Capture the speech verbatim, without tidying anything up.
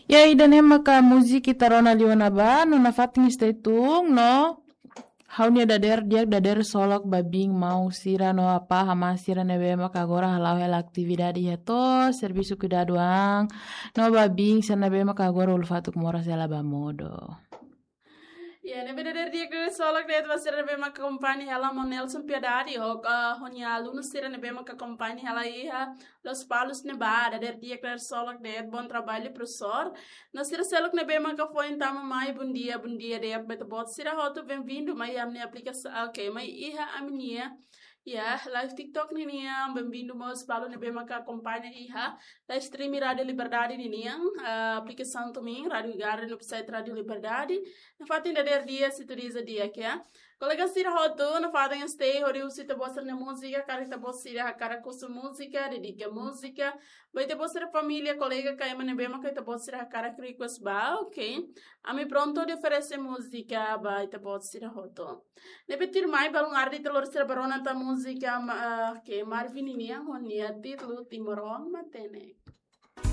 Ya, ida-ne'e maka múzika ita rona liu ona ba, no nafatin stay tune, no ha'u-nia dadeer di'ak, dadeer solok ba biin maun sira no apá amá sira ne'ebé maka agora hala'o hela atividade iha to'os servisu kuidadu an, no ba biin sira ne'ebé maka agora ulun-fatuk moras hela ba modo. Ya, ne'ebé dadeer di'ak, dadeer solok de'it ba sira ne'ebé maka akompaña hela, maun Nelson Piedade, ho, eh, ho nia alunu sira ne'ebé maka akompaña hela iha Lospalos ne'ebá, dadeer di'ak, dadeer solok de'it, bom trabalho, professor. No sira seluk ne'ebé maka foin tama mai, bom dia, bom dia de'it ba ita-boot sira hotu, bem-vindo mai iha ami-nia aplikasaun, ok, mai iha ami-nia, ya, live TikTok ninian, bem-vindo mós balu ne'ebé maka akompaña iha live stream Rádio Liberdade ninian, ah, aplikasaun tumin, Rádio Garden, website Rádio Liberdade. Nafatin dadeer di'ak, sintonia di'ak, ya. Kolega sira hotu, nafatin stay hodi husu ita-boot sira-nia múzika, karik ita-boot sira hakarak husu múzika, dedika múzika ba ita-boot sira família, kolega ka ema ne'ebé maka ita-boot sira hakarak request ba, ok? Ami prontu hodi oferese múzika ba ita-boot sira hotu. Ne'ebé tuirmai, balun arde ita lori sira ba rona tan múzika, ma-, ah, ok, Marvin ninian ho nia títulu Timoroan Matenek.